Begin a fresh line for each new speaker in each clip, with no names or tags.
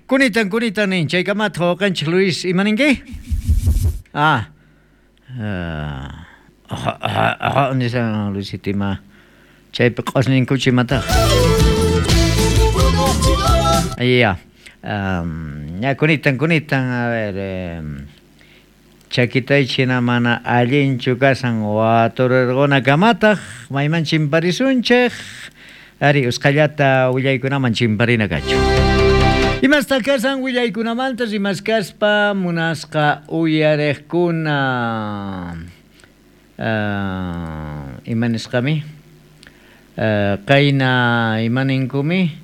Kunitan kunitan nin chaykamataq wawqinchik Luis ima ninki? Ah. Nishan Luisito ima chaypi q'osninkuchu imataq. Ya. Ya kunitan kunitan a ver chakitaychik hina mana allinchu kashan waturirqunakamataq mayman chimparisunchik ari usqhallata willaykunaman chimparina kachun. Imastaq kashan willaykunamanta rimaskaspa munasqa uyariqkuna ima nisqami qayna ima ninkumi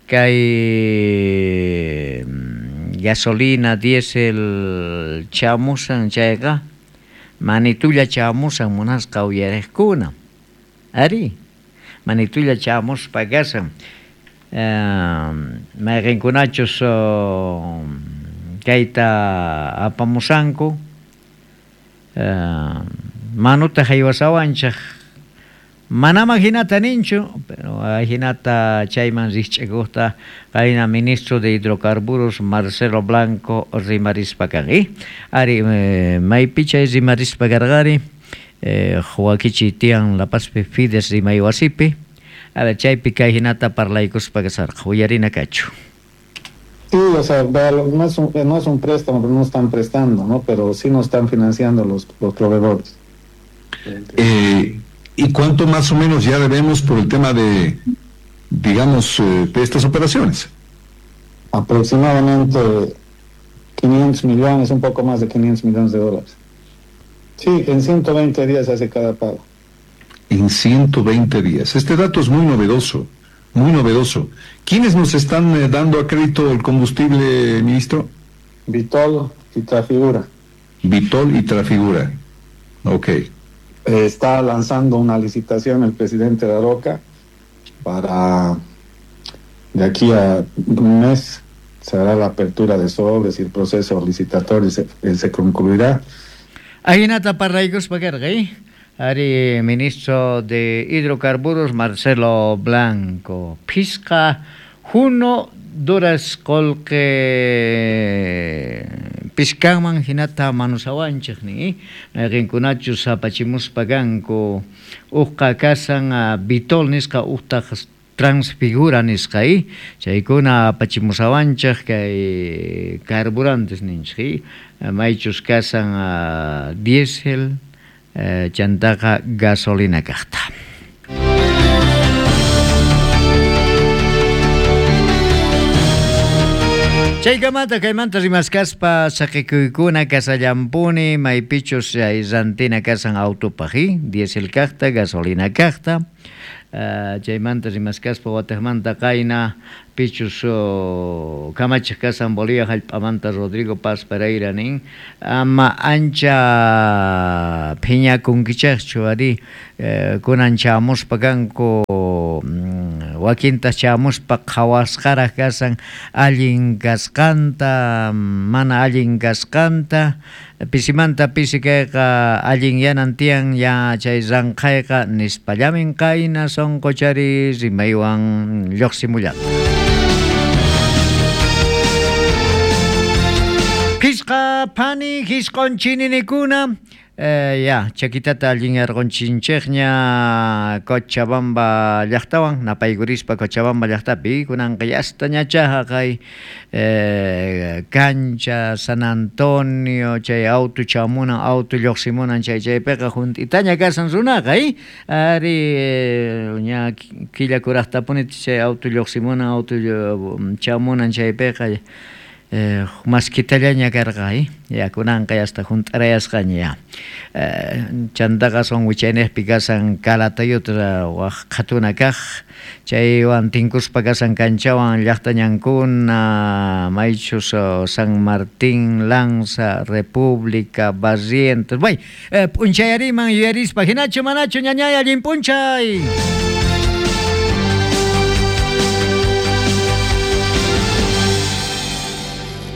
kay gasolina diésel chamushan chayqa manitulla chamushan munasqa uyariqkuna ari manitulla chamuspa kashan mayqinkunachus kayta apamushanku manuta haywasawanchik manama hinata ninchu pero ajinata chayman rikch'akuqta qayna ministro de hidrocarburos Marcelo Blanco rimarispa kan ari maypi chay rimarispa karqari wakichiy tiyan La Pazpi Fides rimay wasipi a ver chaypi kay hinata parlaykuspa kasarqa uyarina kachu.
Sí, o sea, no es un préstamo, no están prestando, ¿no? Pero sí nos están financiando los proveedores.
¿Y cuánto más o menos ya debemos por el tema de, digamos, de estas operaciones?
Aproximadamente 500 millones, un poco más de 500 millones de dólares. Sí, en 120 días se hace cada pago.
En 120 días. Este dato es muy novedoso, muy novedoso. ¿Quiénes nos están dando a crédito el combustible, ministro?
Vitol y Trafigura.
Vitol y Trafigura. Ok.
Está lanzando una licitación el presidente de Aroca para de aquí a un mes se hará la apertura de sobres y el proceso licitatorio se concluirá.
Ajinata parlaykuspa karqa, ari ministro de hidrocarburos Marcelo Blanco phisqa juno duras qolqe pishkanman hinata manusawanchik ni mayqinkunachus apachimuspa kanku uqqa kasan Vitol nisqa uqtaq Transfigura nisqa chaykuna apachimusawanchik kay carburantes ninchik maychus kasan diésel chantaqa gasolina kaqta. Chaykamata kaymanta rimaskaspa saqikuykuna kasallampuni maypichus chay rantina kasan autopaq diésel kaqta gasolina kaqta chaymanta rimaskaspa wataqmanta qayna pichus kamachiq kasan Bolivia hallp'amanta Rodrigo Paz Pereira nin ama ancha phiñakunkichaqchu ari kunan chamuspa kanku wakinta chamuspa qhawasqaraq kasan allin kasqanta mana allin kasqanta pisimanta pisi kayqa allin yanan tiyan ya chay ranqhayqa nispallamin qayna sonqochari rimaywan lluqsimullata. Phisqa phani hisq'un chininikuna ya chakitata allin yarqunchinchikña Cochabamba llaqtawan napaykurispa Cochabamba llaqtapi kunanqa yasta ñachaqa kay cancha San Antonio chay auto chamunan auto lluqsimunan chay chaypiqa hunt'itaña kasan runaqa ari ña killa kuraqtapuni chay auto lluqsimunan auto chamunan chaypiqa maskitallaña karqa ya kunanqa hasta hunt'arayasqaña ya chantaqa son wichayniqpi kasan Calatayuta waq qhatuna kaq chaywan tinkuspa kasan kanchawan llaqtañankuna maychus San Martín, Lanza, República, Barrientos bay p'unchayariman yuyarispa hinachu manachu ñañay allin p'unchay.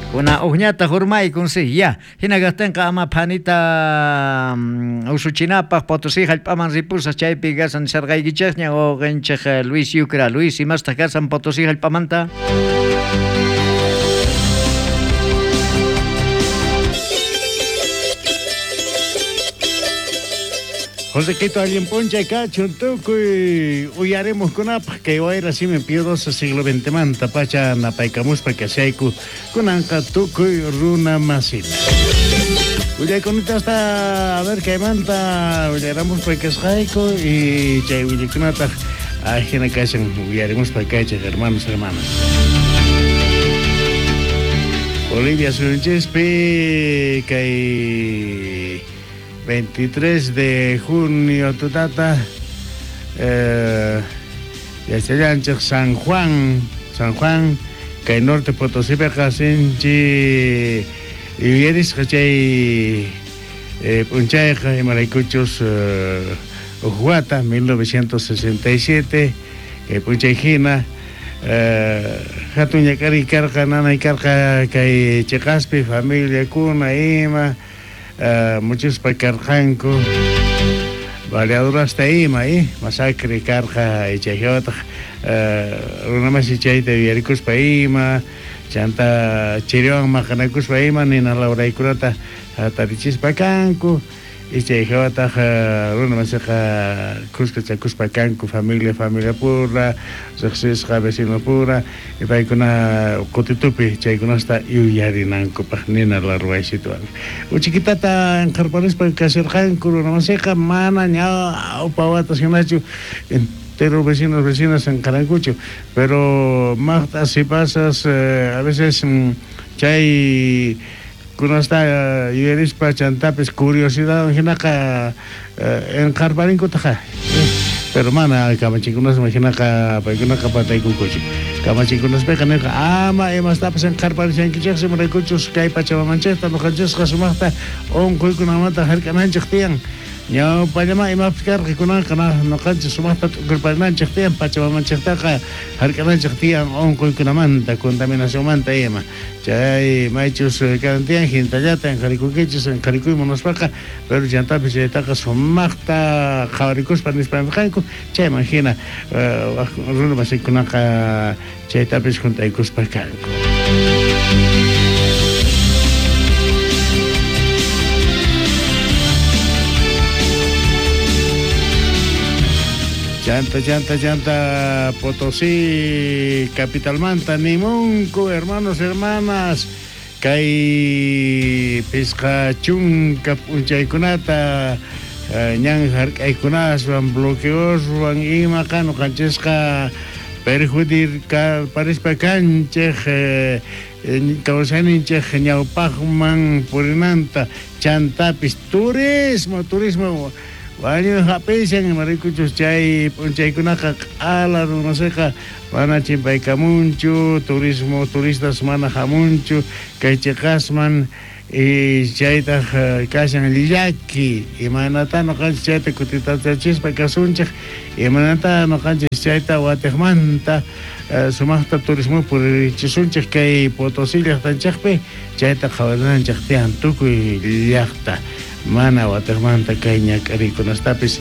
Kuna uqñata hurmaykun si ya hina kaqtinqa ama phanita usuchinapaq Potosí hallp'aman ripusaq chaypi kasan nisharqaykichikña wawqinchik Luis Yucra. Luis, imastaq kasan Potosí hallp'amanta?
Josequito allin p'unchay kachun tukuy uyarimuqkunapaq kay wayra simi piadosa siglo XX manta pacha napaykamuspa kashayku kunanqa tukuy runa masita. Willaykunitasta a ver kaymanta willaramuspa kasqayku y chay willaykunataq ajina kashan uyarimuspa kaychej hermanos hermanas. Bolivia suyunchispi kay 23 de junio tutata yachallanchej San Juan, San Juan kay Norte Potosípeqa sinchi yuyarisqa chay p'unchayqa imaraykuchus uj wata 1967 kay p'unchay jina jatun ñak'ariy karqa nanay karqa kay cheqaspi familiakuna ima muchuspa karqanku baleadurasta ima masacre karqa chay jawataq runamasi chayta yuyarikuspa ima chanta chiriwan maqanakuspa ima nina lawraykunata jatarichispa kanku y chay jawataq runamasiqa khuskachakuspa kanku familia familia pura riqsisqa vecino pura y paykuna qutitupi chaykunasta yuyarinankupaq nina larwaysituwan uchikitata inqharparispa kasharqanku runamasiqa mana ñawpa watas hinachu entero vecinos vecinas inqharankuchu pero maqt'as sipasas a veces chay kunasta yuyarispa chantapis curiosidad hinaqa inqharparinkutaqa pero mana kamachinkunasman hinaqa paykunaqa pataykunkuchu kamachinkunaspiqa nirqa ama imastapas inqharparishankichiksi imaraykuchus kay pachamamanchikta ñuqanchisqa sumaqta unquykunamanta hark'ananchik tiyan ñawpallama imapis karqa kunanqa ñuqanchik sumaqta t'ukurparinanchik tiyan pachamamanchiktaqa hark'ananchik tiyan unquykunamanta contaminacionmanta ima chay maychus kanan tiyan hintallata inqharikunkichis inqharikuy munaspaqa pero chantapis chaytaqa sumaqta qhawarikuspa nispa nirqanku chayman hina runa masikunaqa chaytapis juntaykuspa kanku. Chanta, chanta, chanta, Potosí, capitalmanta, nimunku, hermanos, hermanas, kay pisqa chunka p'unchaykunata ñan hark'aykunaswan bloqueoswan imaqa ñuqanchisqa perjudicar parispa kanchej kawsayninchej ñawpaqman purinanta chantapis turismo, turismo wañuy hap'ishan imaraykuchus chay p'unchaykunaqa q'ala runasiqa mana chimpaykamunchu turismo turistas mana hamunchu kay chiqasman y chaytaq kashan llaki imaynata ñuqanchik chayta kutitachachispa kasunchik imaynata ñuqanchik chayta watiqmanta sumaqta turismo puririchisunchik kay Potosí llaqtanchikpi chayta qhawarinanchik tiyan tukuy llaqta mana watiqmanta kay ñak'arikunastapis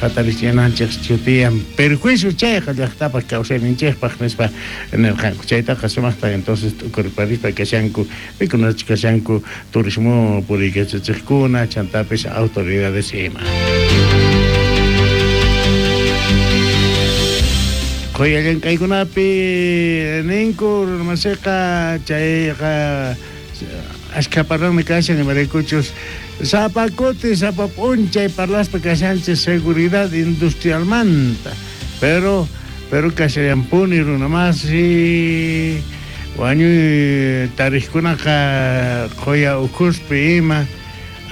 hatarichinanchik chutiyan perjuicio chayqa llaqtapaq kawsayninchikpaq nispa nirqanku chaytaqa sumaqta entonces t'ukurparispa kashanku pikunachus kashanku turismo puriykachachiqkuna chantapis autoridades ima. Qhuya llank'aykunapi ninku runamasiqa chayqa ashkha parlanmi kashan imaraykuchus sapa kuti sapa p'unchay parlaspa kashanchik seguridad industrialmanta pero kashallanpuni runamasi wañuy tariqkunaqa qhuya ukhuspi ima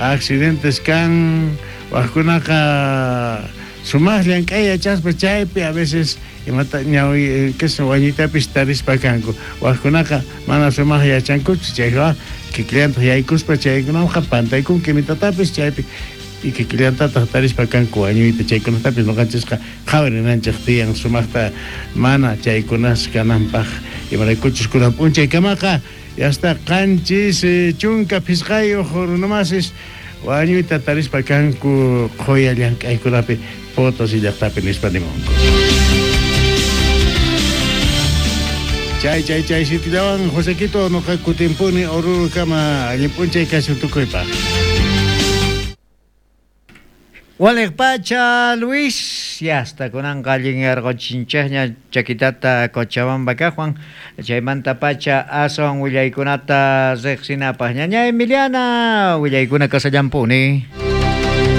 accidentes kan wajkunaqa sumaq llank'ay yachaspa chaypi a veces imata ñawi queso wañuytapis tarispa kanku wajkunaqa mana sumaq yachankuchu chayqa kikillantaq yaykuspa chaykunaqa pantaykunki imitatapis chaypi y kikillantataq tarispa kanku wañuyta chaykunatapis ñuqanchisqa qhawarinanchik tiyan sumaqta mana chaykunas kananpaq imaraykuchus kunan p'unchaykamaqa hasta qanchis chunka phisqayuq runamasis wañuyta tarispa kanku qhuya llank'aykunapi Potosí llaqtapi nispa nimunku. Chay, chay, chay, sitillawan Josequito noqa kutimpuni Oruro kama allin p'unchay kashun tukuypaq.
Waliq pacha Luis, yasta kunanqa allinyarquchinchikña chakitata Cochabamba kaqwan, chaymanta pacha aswan willaykunata riqsinapaq. Ñaña Emiliana, willaykuna kasallampuni.